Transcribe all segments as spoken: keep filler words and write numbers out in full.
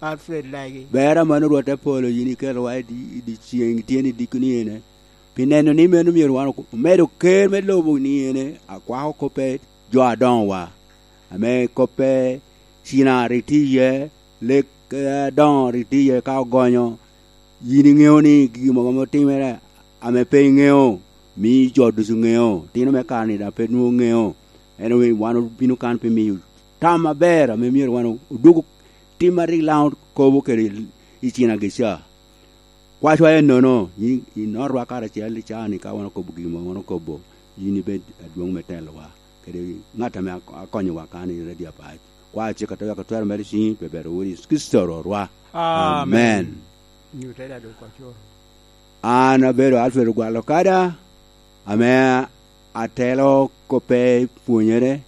Alfred Lagi. Ber amanno Rwot apolo yin ikelowa i di-, i dyeceŋ tyen i dikoni ene. Pi neno ni meno myero wan ok-, omedo ker me lobo ni ene, akwako koppe jo adoŋowa, ame koppe cina rik tye iye, lek, eh, adoŋo rik tye iye ka ogonyo. Yin iŋeo ni gigi mogo ame otimere ame pe iŋeo, mio jo ducu ŋeo, tino me kare-ni daŋ pe nwoŋo ŋeo. En awe wan obino kan pi miyo tam aber ame myero wan odwogo tim a rik Lango kobo kede i cinagica. Kwacwa ennono, i, i notwa karacel i caa-ni ka wan okobo gin ame wan okobo, yin ibed adwoŋ me telowa, kede ŋat ame ak-, akonyowa kan i redio apac. Kwa cik ate wek otwero mere i ciŋi, pe ber owuro Yecu Kricito Rwotwa. Amen. Amen. Nyutte da dok ocoro. An abedo Alfred Ogwalo Kada, ame atelo koppe pwonyere,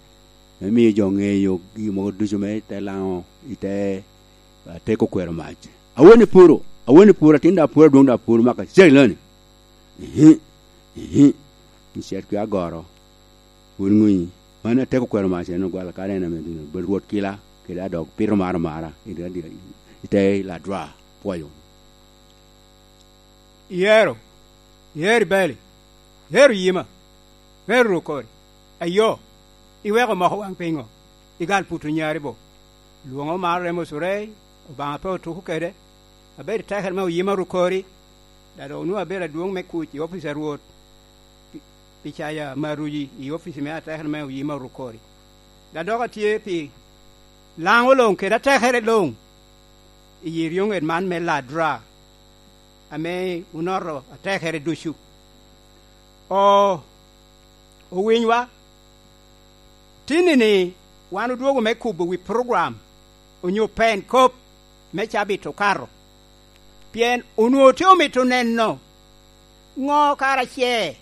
me miyo jo ŋeyo gin mogo ducu me te Lango i te, ah, teko kwero mac. Awene puro, awene puro, atin da puro, adwoŋ da puro, maka cegiloni. Ihi, ihi. Icet kwi agoro. Wun ŋuyi. Man ateko kwero mac en Ogwalo Kada en ame dino. Bed Rwot kila, kede adok pito maro mara, i te, i te Ladwa. Pwoyo. Iyero, iyero ibali, iyero yima, iyero rukori. Ayo, iweko moko waŋ piŋo? Igal puto nyari bo. Lwoŋo mar remo curei, Obaŋa pe otuko kede. Abedo i tekere me oyima rukori, da dok onwoŋo abedo adwoŋ me kuc i opic a Rwot. pi, pi cayo amaruci i opic me atekere me oyima rukori. Da dok atye pi Lango luŋ kede atekere luŋ i yi eryoŋet man me Ladra, ame onoto atekere ducu. O, owinywa, tinni-ni wan odwogo me kubo wi program onyo pen kop me cabit okato, pien onwoŋo tye omito neno ŋo kara ce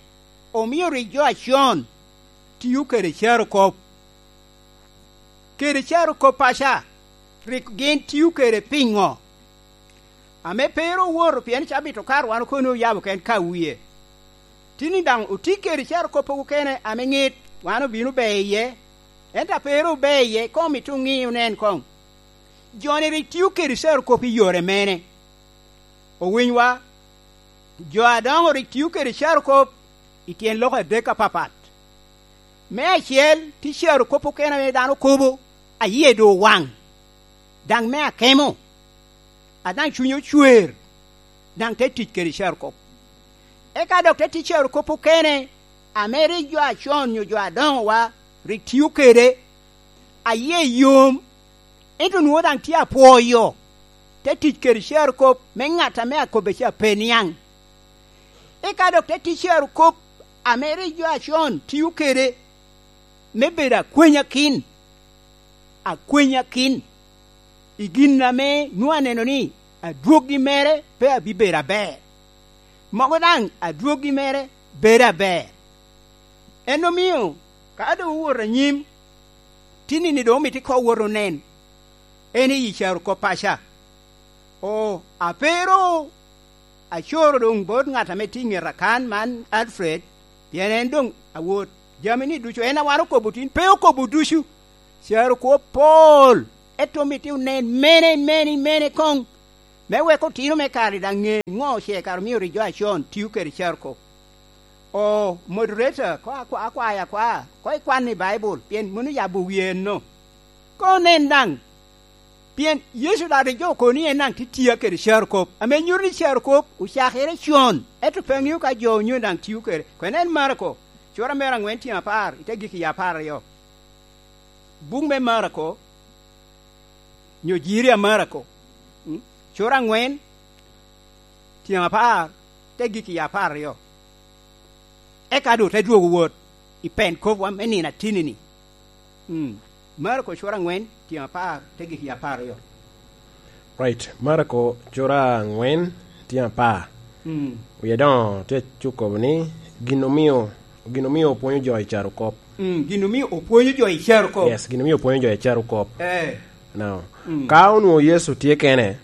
omio rik jo acon tio kede carokop, kede carokop paca rik gin tio kede piŋo? Ame pe ru owoto, pien cabit okato wan okono oyabo ken ka wie. Tinni daŋ oti kede carokop okene ame ŋit, wan obino be iye, ento a pe ru obe iye, koŋ omito oŋi onen koŋ. Jo-ni rik tio kede carokop i yore mene? Owinywa, jo adoŋo rik tio kede carokop i tyen lok adek apapat. Me acel, tye carokop okene ame dano kobo, a yie doŋ owaŋ, daŋ me akemo, a daŋ cunye ocwer, daŋ te tic kede carokop. Eka dok te tic carokop okene, ame rik jo acon nyo jo adoŋowa rik tio kede, a yie yom, ento nwoŋo daŋ tye apwoyo, te tic kede carokop me ŋat ame akobbe ca pe niaŋ. Eka dok te tic carokop ame rik jo acon tio kede me bedo akwenyakin, akwenyakin i gin ame nwoŋo aneno ni adwoggi mere pe abibedo aber, mogo daŋ adwoggi mere bedo aber. En omio, ka doŋ owoto anyim, tinni-ni doŋ omito ikoŋ wot onen, en i yi carokop paca. O, a pe ru acoro doŋ bot ŋat ame tye i ŋeta kan man, Alfred, pien en doŋ awot jami-ni ducu, en a wan okobo tin, pe okobo ducu. Carokop pol, ento omito onen mene, mene, mene koŋ, me wek otino me kare daŋ ŋe ŋo ce kara omio rik jo acon tio kede carokop. O, moderator, ko akwa-, akwayo akwa, ko ikwan i Baibul, pien mano yabo wie enno. Ko nen daŋ, pien Yecu daŋ rik jo okoni en daŋ tye tia kede carokop, ame nyuto ni carokop ocakere con, ento pe aŋeo ka jo onyo daŋ tio kede. Kwene en Marako, cura mere aŋwen tyen apar, i te gik i apar aryo. Buk me Marako, nyo jiri a Marako, mm, cura aŋwen, tyen apar, te gik i apar aryo. Eka doŋ te dwogo wot i pen kopwa me nino atinni-ni. Mm. Marako cura aŋwen, tyen apar, te gik i apar aryo. Right. Marako cura aŋwen, tyen apar. Mm. Wie doŋo tye cukobo ni, gin omio, gin omio opwonyo jo i carokop. Mm, gin omio opwonyo jo i carokop. Yes, gin omio opwonyo jo i carokop. Eh. Now, mm, ka onwoŋo Yecu tye kene,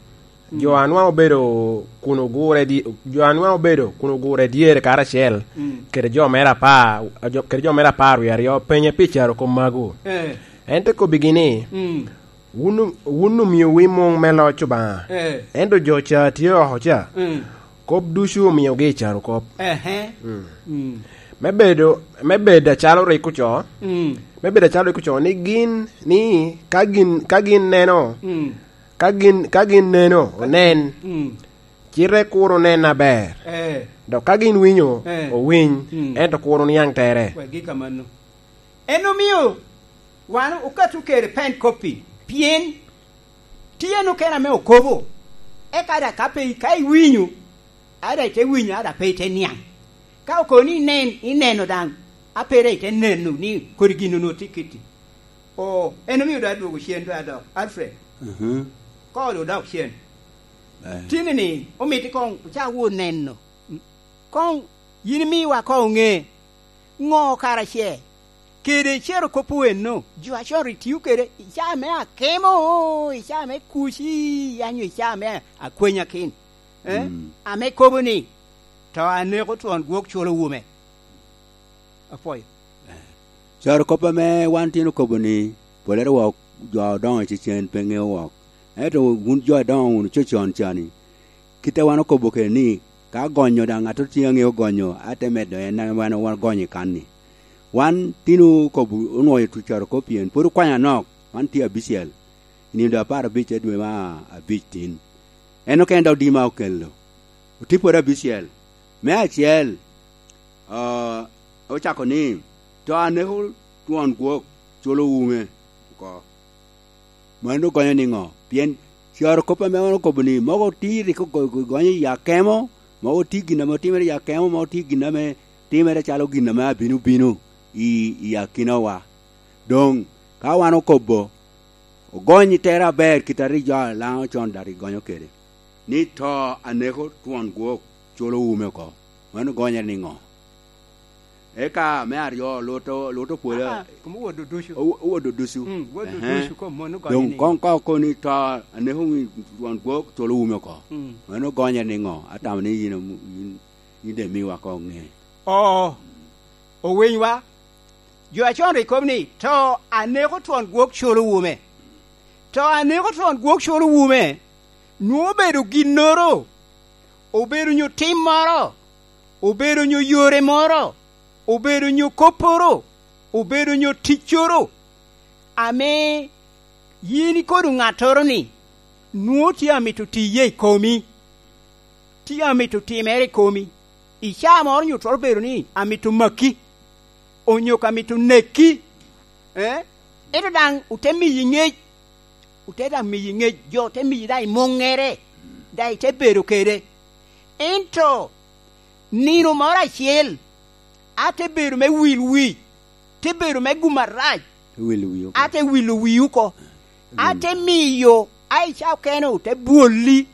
mm, jo a nwaŋ obedo kun ogure di-, jo a nwaŋ obedo kun ogure dyere karacel, mm, kede jo mere apar, jo, kede jo mere apar wie aryo, penye pi carokop magu. Eh. En te kobbigi ni, mm, Wun, wun omiowu i muŋ me loc Obaŋa, Eh. ento jo ca tye oko ca, Mm. kop ducu omiogi i carokop. Ehe. Mm. Mm. Me bedo, me bedo acalo rik ocoo, Mm. me bedo acalo rik ocoo, ni gin, ni ka gin, ka gin neno, Mm. ka gin, ka gin neno, onen, Mm. cite kur onen aber. Eh. Dok ka gin winyo, Eh. owiny, Mm. ento kur oniaŋ tere. Wek gik amanno. En omio wan okatto kede pen koppi, pien tye en okene ame okobo. Eka daŋ ka pe, ka iwinyo, a daŋ ite winyo, a daŋ pe ite niaŋ. Ka okobo ni inen, ineno daŋ, a pe daŋ ite neno ni kodi gin onwoŋo tye kitti. O, en omio daŋ adwogo cen, daŋ adok. Alfred, Mhm. koŋ odok cen. Eh. Tini-ni, omito koŋ ocak wot neno. Koŋ yin imiwa koŋ oŋe ŋo kara ce kede cero kop owenno, jo acon rik tio kede i caa me akemo, i caa me kuci, anyo i caa me akwenyakin, eh? Mm. Ame kobo ni, "To aneko twon gwok culo wume." Apwoyo. Caro kop ame wan tin okobo ni, "Polere wok jo adoŋo i cecen pe ŋeo wok." Ento wun jo adoŋo wunu cocon cani, kit a wan okobo kede ni, ka gonyo daŋ ŋat tye aŋeo gonyo, a te medo en ame wan, wan gonyo i kan-ni. Wan tin okobo, onwoyo tu caro kop pien pwod okwanyo anok, wan tye abicel. I nino doŋ apar abic a dwe me abic tin. En okene dok dima okelo. Otye pwod abicel. Me acel, ah, ocako ni, "To aneko twon gwok culo wume oko." Mano gonyo niŋo? Pien caro kop ame wan okobo ni, mogo tye rik ogo-, gonyo i akemo, mogo tye gin ame otimere i akemo, mogo tye gin ame timere calo gin ame abino bino i, i akinawa. Doŋ, ka wan okobo, ogony i tere aber kit a rik jo a Laŋo con daŋ rik gonyo kede, ni, "To aneko twon gwok culo wume oko." Mano gonyere niŋo? Eka me aryo, Lut o-, Lut opwolo. Aa, kom owodo ducu. O-, owodo ducu. Mm, owodo Ehe. ducu, kom mano gonye Doŋ ni. Koŋ ka okobo ni, "To aneko wi twon gwok culo wume oko." Mm. Mano gonyere niŋo? Atamo ni yin omu-, yin, yin daŋ imiwa koŋ ŋe. Oo, owinywa. Jo acon rik kobo ni, "To aneko twon gwok culo wume." To aneko twon gwok culo wume, nwoŋo obedo ginnoro, obedo nyo tim moro, obedo nyo yore moro, obedo nyo kopporo, obedo nyo ticcoro, ame yin ikodo ŋattoro-ni, nwoŋo tye amito tiye i komi, tye amito timere i komi, i caa moro nyo twero bedo ni amito maki, onyo ka mito neki, eh? Ento daŋ ote miyi ŋec, ote daŋ miyi ŋec, jo te miyi daŋ i muŋŋere, daŋ ite bedo kede. Ento nino moro acel, a te bedo me wil wi, te bedo me gum arac, Te wilo wi oko. A te wilo wi oko. A te miyo, a i ca okene te bwolli.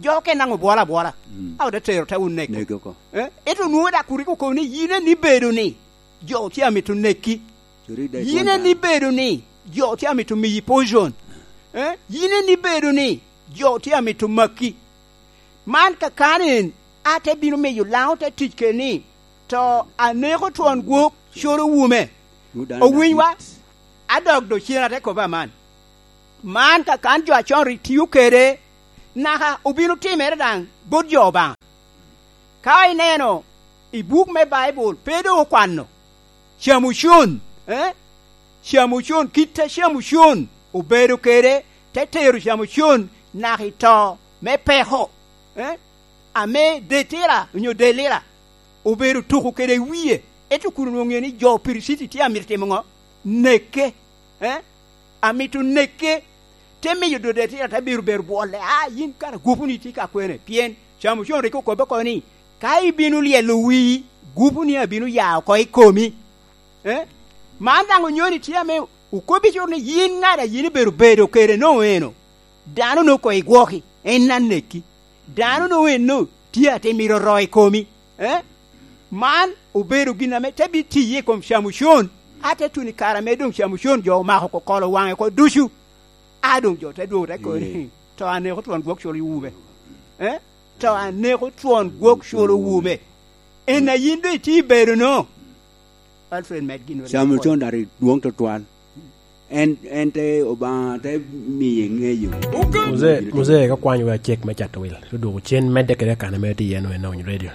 Jo okene daŋ obwolo abwola. Mm. A ote tero te oneko. Neko oko. Eh? Ento nwoŋo dak kurik okobo ni yin en ibedo ni jo tye amito neki. Curi dek Yin en ibedo ni jo tye amito miyi poison. Eh? Yin en ibedo ni jo tye amito maki. Man kakano en, a te bino miyo Laŋo te tic kede ni, to aneko twon gwok colo wume. Owinywa, adok do cen ate kobo aman. Man kakan jo acon rik tio kede, naka obino timere daŋ bot jo Obaŋa. Ka ineno i buk me Baibul, pe doŋ okwano Camucon, eh? Camucon, kit a Camucon obedo kede, te tero Camucon naka i to me peko, eh? Ame Detira onyo Delira obedo tuko kede i wie, ento kun onwoŋo ŋeo ni jo Piriciti tye amito timo ŋo? Neke, eh? Amito neke, te miyo Detira te biro bedo bwolle, "A, yin kara gwoponi tye ka kwene?" Pien Camucon rik okobbe oko ni, "Ka ibino lyelo wii, gwoponi abino ya oko i komi." Eh? Man daŋ onyoni tye ame okobbi cur ni yin ŋat a yin ibedo bedo kede noŋ eno. Dano noŋ koŋ igwoki, en aneki. Dano noŋ eno tye ate mito ro i komi. Eh? Man obedo gin ame te bi tiye i kom Camucon. A te tuno i kare ame doŋ Camucon jo omako kokolo waŋe oko ducu. A doŋ jo te dwogo te kobo ni, "To aneko twon gwok cul i wube." Eh? "To aneko twon gwok cul i wube." En a yin doŋ itye i bedo no. Alfred, med gin Camucon daŋ rik dwoŋ tutwal. En, en te Obaŋa te miye ŋeyo. Muzee, Muzee, ka kwany wea cek me cato wil, te dwoko cen medde kede akana mere tye iye, no, en Onyo Radio.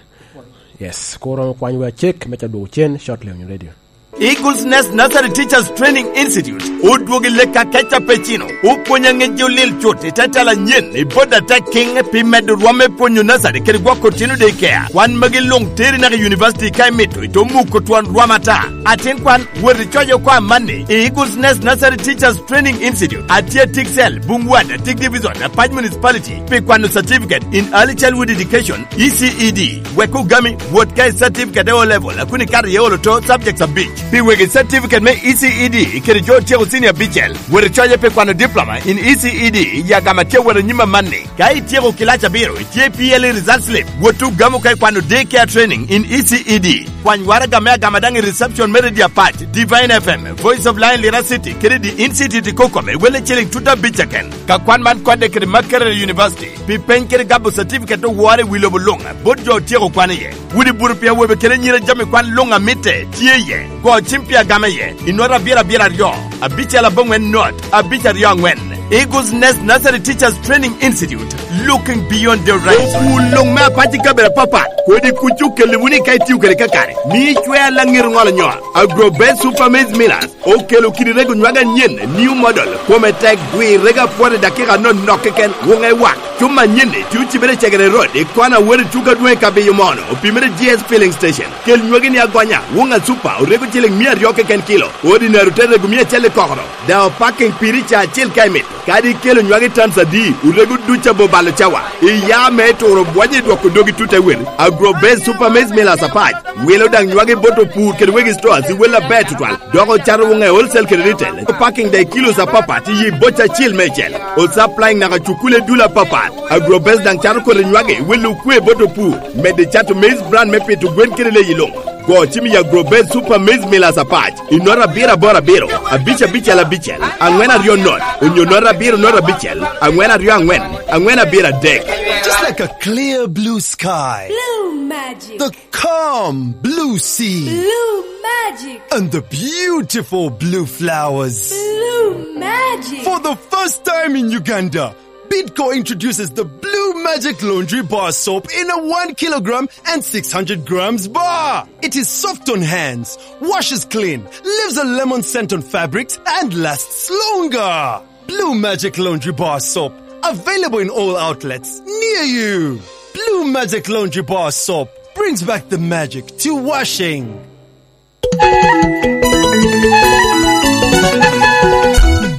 Yes, kur oromo kwany wea cek me ca dwoko cen, shortly, Onyo Radio. Eagles Nest Nursery Teachers Training Institute odwogo i lek akeca pe cino, opwonyo aŋec jo lil cut i te tela anyen i bot atek kiŋ pi medo rwom me pwonyo nursery kede gwoko otino daycare. Kwan magi luŋ teri naka i university ka imito, ito muko twon rwom ata. Atin kwan, wot icoc oko amanni i Eagles Nest Nursery Teachers Training Institute, atye Tiksel, Bungwat, Atik Division, Apac Municipality, pi kwano certificate in early childhood education, E C E D. Wek ogami, wot ka i certificate e O level, a kun ikato iye olo to subjects abic. Pi wegi certificate me E C E D kede jo otyeko senior abicel, wot icoce pi kwano diploma in E C E D i agama tye wot anyim amanni. Ka ityeko kilac abiro, itye P L E result slip, wot ogamo ka ikwano day care training in E C E D. Kwany waraga me agama daŋ i reception me Radio Apac, Divine F M, Voice of Lion Lira City, kede The Institute i Kokome, welle ciling tuta abic keken. Ka kwan man kodde kede Makerere University, pi peny kede gabo certificate owore i wi lobo luŋ, bot jo otyeko kwan iye. Wot i buto pi awobe kede anyira, jami kwan luŋ a mitte tye iye. Go cim pi agama iye, i nota abiro abiro aryo, abicel aboŋwen not, abic aryo aŋwen. Eagles Nest Nursery Teachers Training Institute, looking beyond the horizon. Opur luŋ me apac i kabedo apapat, kodi kuc okelle wunu ka itio kede kakare, mi icwea laŋet oŋolo nyo. Agrobest Super Maize Millers okelo kidi rego nywage anyen, new model, kome tek, gwi rego apwot i dakika anonok keken, wuŋe wak. Cuma anyen-ni tye ocibere i Cegere Road, i kona wot i tuko adwoŋ i Kabiyo Mono, opimere G S Filling Station. Kel nywagi-ni agonya, wuŋ a Super, orego ciling mia aryo keken kilo, ordinary te rego mia acel i kokoro. Daŋ opaking piri ca acel ka imito. Kadi ikelo nywagi tons adi, orego duc abo balo cawa. Iya me turo bwonyo i dwoko dogi tut te wel. Agrobest Super Maize Millers apac. Wilo daŋ nywagi bot opur kede wegi stores i wel aber tutwal. Dok ocato wuŋe wholesale kede retail. Parking daŋ i kilos apapat i yi boca acil meicel. O supplying naka cukule dul apapat. Agrobest daŋ cato kodi nywagi, welo okwe bot opur. Medde cato maize bran me pito gwen kede leyi luŋ. Go cim i Agrobest Super Maize Millers apac i nota abiro aboro abiro, abic abicel abicel, aŋwen aryo not, onyo nota abiro not abicel, aŋwen aryo aŋwen, aŋwen abiro adek. Just like a clear blue sky. Blue magic. The calm blue sea. Blue magic. And the beautiful blue flowers. Blue magic. For the first time in Uganda, Bidco introduces the Blue Magic Laundry Bar Soap in a one kilogram and six hundred grams bar. It is soft on hands, washes clean, leaves a lemon scent on fabrics, and lasts longer. Blue Magic Laundry Bar Soap, available in all outlets near you. Blue Magic Laundry Bar Soap brings back the magic to washing.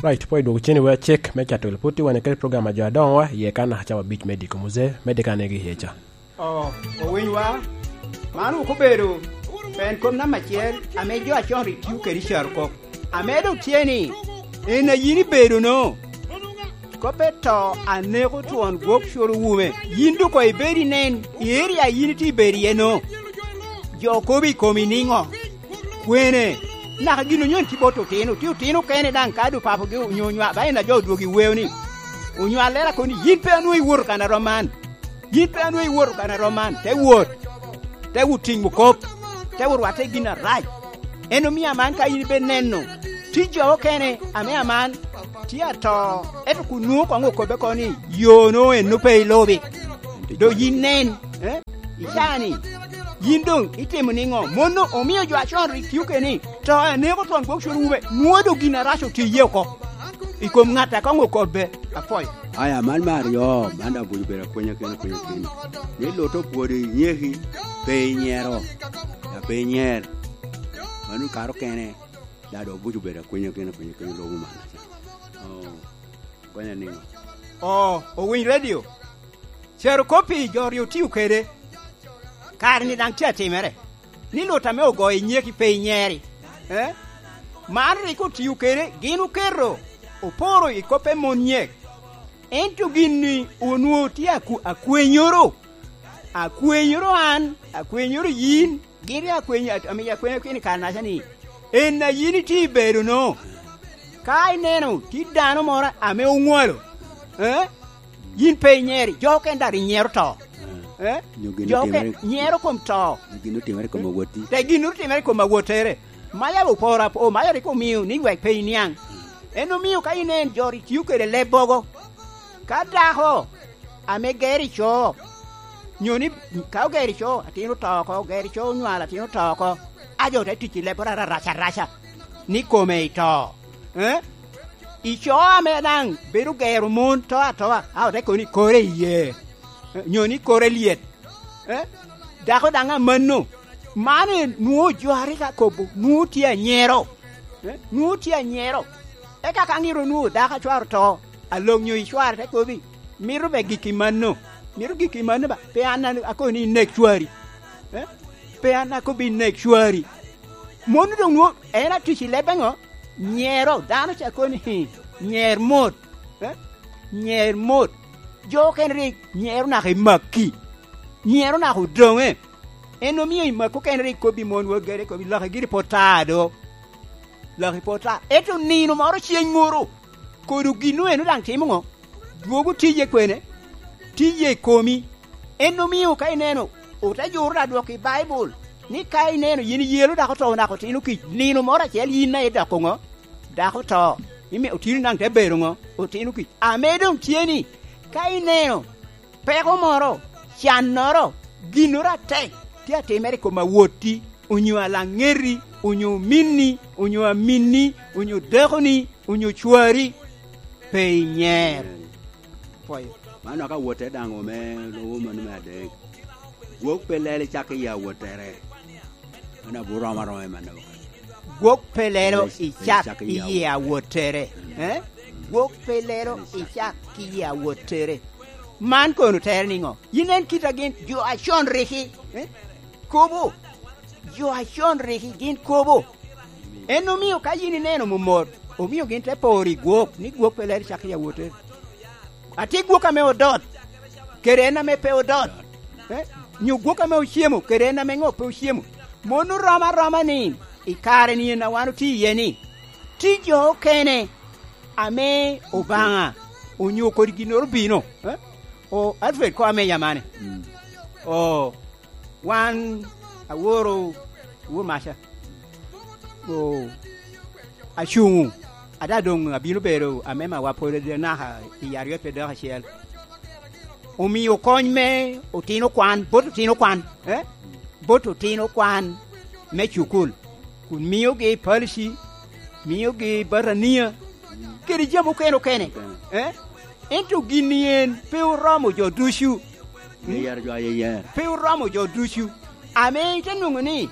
Right, pwod idwoko cen i wer cek me cato wil. Pwod tye wan kede program a jo adoŋowa, iye kan naka cawa abic me diko Muzee, me diko anegi iye ca. Oh, owinywa, man wok obedo en kop namba acel ame jo acon rik tio kede i carokop. Ame doŋ tye ni, en a yin ibedo-no. Kop pe to aneko twon gwok curo wume. Yin doŋ koŋ ibed inen, i area a yin itye ibedo iye-no. Jo kobo i komi niŋo? Kwene? Naka gin onyo en tye bot otino, tye otino kene daŋ ka doŋ papogi onyo onywa-, ba en a jo odwogo i weo ni, onywallere kono ni, yin pe anwoŋo iwoto kan a rom man. Yin pe anwoŋo iwoto kan a rom man. Te wot. Te wot tiŋo kop. Te wot rwatte i gin arac. En omio aman ka yin ibe neno, tye jo okene ame aman tye ato, ento kun nwoŋo koŋ okobbe oko ni, yo-no enno pe ilubi. Do yin nen, eh? Icaa ni, yin doŋ itimo niŋo? Mon-no omio jo acon rik tio kede ni, to aneko twon gwok cwero wume, nwoŋo doŋ gin arac otye iye oko. I kom ŋat a koŋ okobbe, apwoyo. Aya, man me aryo, man daŋ obuco bedo akwenya kene, akwenya kene. Ni Lute opwodo i nyeki, pe inyero, ya pe inyer. Mano kare okene, daŋ dok obuco bedo akwenya kene, akwenya kene, lobo man. Oh, konya niŋo? Oh, owiny redio. Cero kopi jo ri otio kede. Kare-ni daŋ tye atimere. Ni Lute ame ogoyo i nyeki pe inyeri. Eh? Man rik otio kede, gin oketo, oporo i kop me mon nyek. Ento gin-ni onwoŋo tye aku-, akwenyoro. Akwenyoro an, akwenyoro yin, gin rik akweny-, amiyo akwenyo kene i kare-naca ni, en a yin itye i bedo-no. Ka ineno tye dano moro ame oŋwalo, eh? Yin pe inyeri, jo okene daŋ rik nyero to. Eh? Nyo gin Jo okene otimere, nyero kom to. Nyo gin otimere i kom awoti. Te gin otimere i kom awottere. Maca oporo apo-, maca rik omio ni wek pe iniaŋ. En omio ka inen jo rik tio kede leb bogo, ka dako ame gero ico, nyo ni ka ogero ico, atin oto oko, ogero ico onywalo, atin oto oko, a jo te tic i lebboro arac araca, ni kome ito. Eh? Ico ame daŋ bedo gero mon to atoa, a ote kono ni kore iye, eh, nyo ni kore lyet. Eh? Dako daŋ amanno. Man en nwoŋo jo a rik akobo, nwoŋo tye anyero. Eh? Nwoŋo tye anyero. Eka ka ŋiro nwoŋo dako a cware oto, alok nyo icware te kobi, mito be gik i mano. Mito gik i mano ba, pe an a-, akobo ni inek cwari. Eh? Pe an akobo inek cwari. Mon doŋ nwoŋo, en atic i leb eŋo? Nyero, dano ca kobo ni, "Hi, nyer mot." Eh? Nyer mot. Jo okene rik nyero naka i makki. Nyero naka odoŋe. En omio i makki okene rik kobbi mon wagere, kobbi laki giri pwod ta do. Laki pwod ta. Ento nino moro ceng moro, kodo gin eno daŋ timo ŋo? Dwogo tije kwene? Tije i komi. En omio ka ineno, ote juro da dwok i Baibul, ni ka ineno yin iyelo dako oto naka otino kic, nino moro acel yin a idoko ŋo? Dako oto. Imi otino daŋ te bedo ŋo? Otino kic. Ame doŋ tye ni, ka ineno peko moro, cannoro, ginnoro atek tye atimere i kom awotti, onyo alaŋeti, onyo ominni, onyo aminni, onyo dakoni, onyo cwari, pe inyer. Pwoyo. Man dok awotte daŋ ome lubo mano me adek. Gwok pe lelo i cak i awottere. Mano abiro romo aroma i mano. Gwok pe lelo i cak i yie awottere. Eh? Gwok pe lelo i cak i yie awottere. Man kono tere niŋo? Yin en kit a gin jo acon riki, eh? Kobo. Jo acon riki gin kobo. En omio ka yin ineno momot, omio gin te poro i gwok, ni gwok pe lelo i cak i awottere. Atye gwok ame odot, kede en ame pe odot. Eh? Nyo gwok ame ocemo, kede en ame ŋo pe ocemo. Mon oromo aroma ni, i kare ni en a wan otye iye ni, tye jo okene ame Obaŋa onyo kodi ginnoro obino. Eh? O, Alfred, ko ame yamane. Mm. O, wan aworo wor maca. O, acuŋu. Ada doŋ abino bedo amemawa pwod naka i aryo pe dok acel. Omio kony me otino kwan, bot otino kwan, eh? Bot otino kwan me cukul, kun miogi palici, miogi batania, kede jami okene okene, eh? Ento gin-ni en pe oromo jo ducu. Pe oromo jo ducu. Ame ite nwoŋo ni,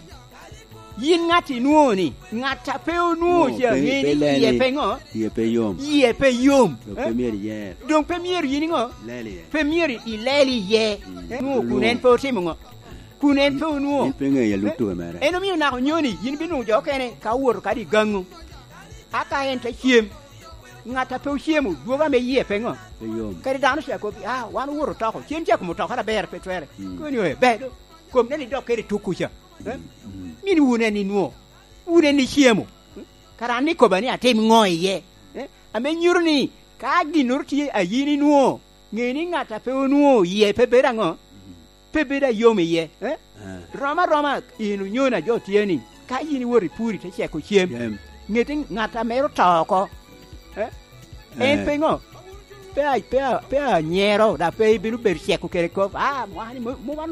yin ŋat inwoŋo ni, ŋat a pe onwoŋo ca ŋe ni yie pe ŋo? Yie pe yom. Yie pe yom. Doŋ pe myero iyer. Doŋ pe myero yin iŋo? Lel iye. Pe myero ilel iye. Mm. Eh, nwoŋo kun en pe otimo ŋo? Kun en pe onwoŋo. En pe ŋeyo alut tuke mere. En omio naka onyo ni yin binwoŋo jo okene ka owoto kadi i gaŋu. A ka en te cem, ŋat a pe ocemo, dwogo ame yie pe ŋo? Pe yom. Kadi dano ca kobbi, "Ah, wan owoto toko." Cen ca kom otokere aber pe twere. Mm. Koni oye, "Bedo. Kom nen idok kede tuk kuca." Eh? Mm, mm. Min wun en inwo. Wun en icemo. Kara an ikoba ni atim ŋo iye? Eh? Ame nyuto ni ka ginnoro tye a yin inwo, ŋe ni ŋat a pe onwo yie pe bedo aŋo? Pe bedo ayom iye. Eh? Eh. Rom aroma in onyona jo tye ni, ka yin iwot i puri te ceko cem, cem, ŋeti ŋat a mero to oko. Eh? En, eh, pe ŋo? Pe a-, pe a-, pe anyero, da pe ibino bedo ceko kede kop. Ah, mwaka ni mo-, mo wan